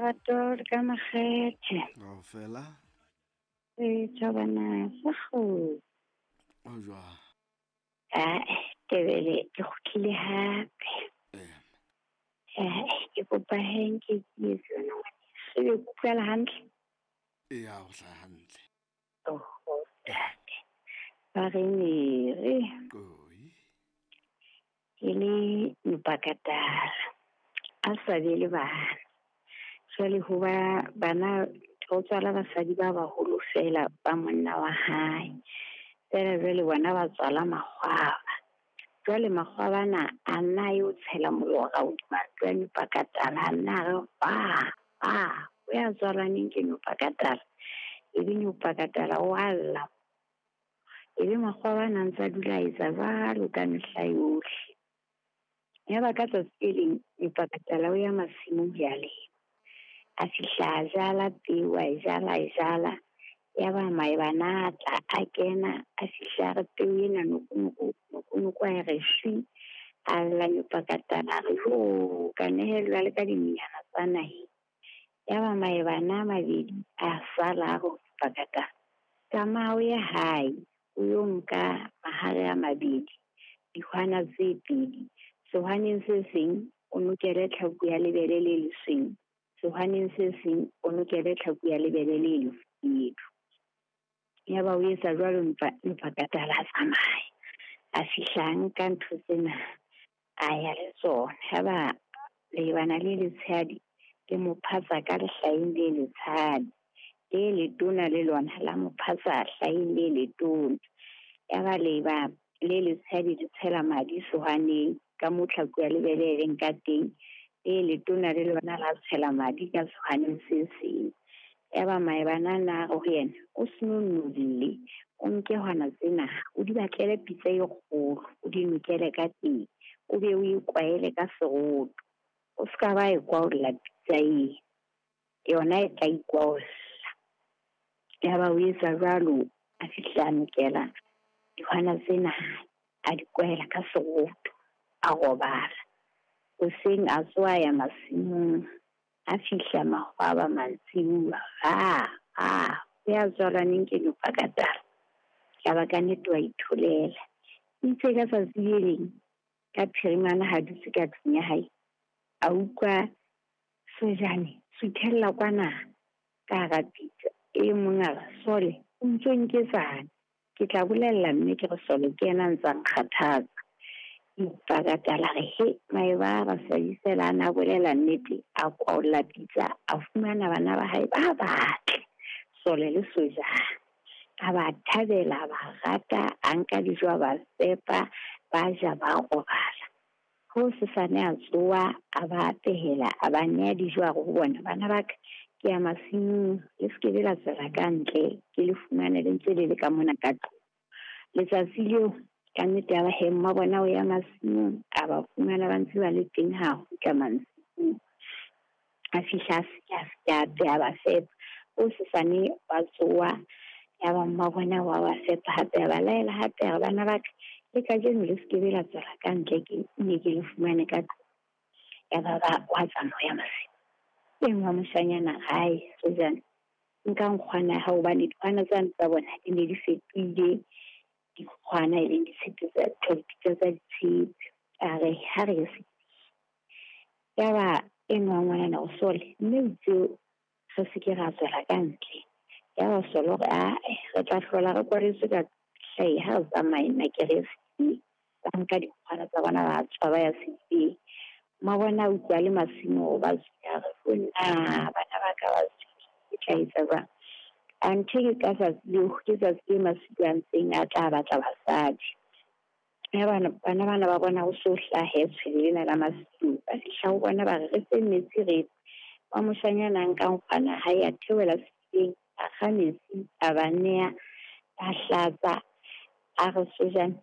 lerato le ka makgethe. Kaofela. E tjhabana sa kgotso. O jwang? Ae, Tebele ke kgutlile hape. Eh. Ke kopa he nke ke etse yona ngwaneso. Ebe ke utlwela hantle? Eya, o hlaha hantle. Oho, ntate. Ba re mere. Koi. Ke le mpakatala. A sa be le bana. Jwale ho ba bana ho tswala basadi ba baholo feela ba monna wa hae. Feela jwale bona ba tswala makgwaba. Jwale makgwaba ana a nna yo tshela molora hodima ntlo ya Nyopakatala, a nna a re ba ba o ya tswalaneng ke Nyopakatala. Ebe Nyopakatala o a lla. Ebe makgwaba ana a ntse a dula a etsa jwalo ka mehla yohle. Yaba ka tsatsi le leng Nyopakatala o ya masimong ho ya lema. A fihla a jala peo, a e jala, a e jala. Yaba maebana a tla a kena, a fihla a re peo ena noko, noko, noko, noko a e re shwi. A lla Nyopakatala a re jo, ka nehellwa le ka dinonyana tsa naheng. Yaba maebana a mabedi a sala a re ho Nyopakatala, tsamaya o ye hae, o yo nka mahare a mabedi, dihwana tse pedi. Sehwaneng se seng o nokele tlhaku ya lebele le lesweu, sehwaneng se seng o nokele tlhaku ya lebele le lefubedu. Yaba o etsa jwalo Nyopakatala a tsamaya. A fihla a nka ntho tsena, a ya le tsona. Yaba leebana le letshehadi le mo phatsa ka lehlaheng le letshehadi, le letona le lona la mo phatsa hlaheng le letona. Yaba leeba le letshehadi le tshela madi sehwaneng ka moo tlhaku ya lebele e leng ka teng, le letona le lona la tshela madi ka sehwaneng se seng. Yaba maebana ana a re ho yena, o seno nolle, o nke hwana tsena, o di batlele pitsa e kgolo, o di nokele ka teng, o be o e kwaele ka seroto. O ska ba e kwaolla pitsa e, yona e tla ikwaolla. Yaba o etsa jwalo, a fihla a nokela dihwana tsena, a di kwaela ka seroto, a robala. Hoseng a tsoha ya masimong, a fihla makgwaba mantsibuya, a o ya tswalaneng ke Nyopakatala. Yaba ka nnete wa itholela. Itse ka tsatsi le leng, ka phirimana ha dutse ka tlung ya hae, a utlwa sojane suthella kwana ka hara pitsa. E mong a re, Sole, o ntso nketsang? Ke tla bolella mme ke re Sole ke yena a ntsa nkgathatsa. Nyopakatala re he, maeba a basadi feela a na bolela nnete, a kwaolla pitsa, a fumana bana ba hae ba batle, Sole le Sojane. A ba thabela, a ba rata, a nka dijo, a ba fepa, ba ja, ba robala. Ho sesane a tsoha, a ba apehela, a ba nea dijo, a re ho bona, bana ba ka, ke ya masimong, le se ke be la tswela ka ntle, ke le fumane le ntse le le ka mona ka tlung. Letsatsi leo ka nnete ya ba he, mma bona o ya masimong, a ba fumana ba ntse ba le teng ha kgutla mantsibuya. A fihla a se ke a apeha, a ba fepa. O sesane ba tsoha, ya ba mma bona wa ba fepa hape, a ba laela hape, a re, bana ba ka, le kajeno le se ke be la tswela ka ntle, ke ne ke le fumane ka tlung. Ya ba ba wa tsamaya masimong. E nngwe moshanyana hae, Sojane, nka nkgwana ya hao, hobane dikgwana tsane tsa bona di ne di fetohile dikgwana e leng ditshepe tsa dipitsa tsa ditshepe. A re, ha re ye sedibeng. Yaba e nngwe wa ngwanana o Sole, mme o itse re se ke ra tswela ka ntle. Yaba Sole o re, ae, re tla hlola re kwaletswe ka hlae, ha re tsamaye nna ke re ye sedibeng. Ba nka dikgwana tsa bona ba tswa ba ya sedibeng. Mma bona a utlwa le masimo ba tswile, a re, ho nna, bana ba ka ba tswile, ke tla etsa jwang? Anthe ke ka tsatsi leo, ke tsatsi le masilo a ntseng a tla batla basadi. Ya bana, bana bana ba bona ho so hlahe tshwele lena la masilo. Ba fihla ho bona ba re, re fe metsi re nwe. Wa moshanyana a nka nkgwana hae, a theohela sedibeng, a kga metsi, a ba nea, a hlatsa, a re Sojane,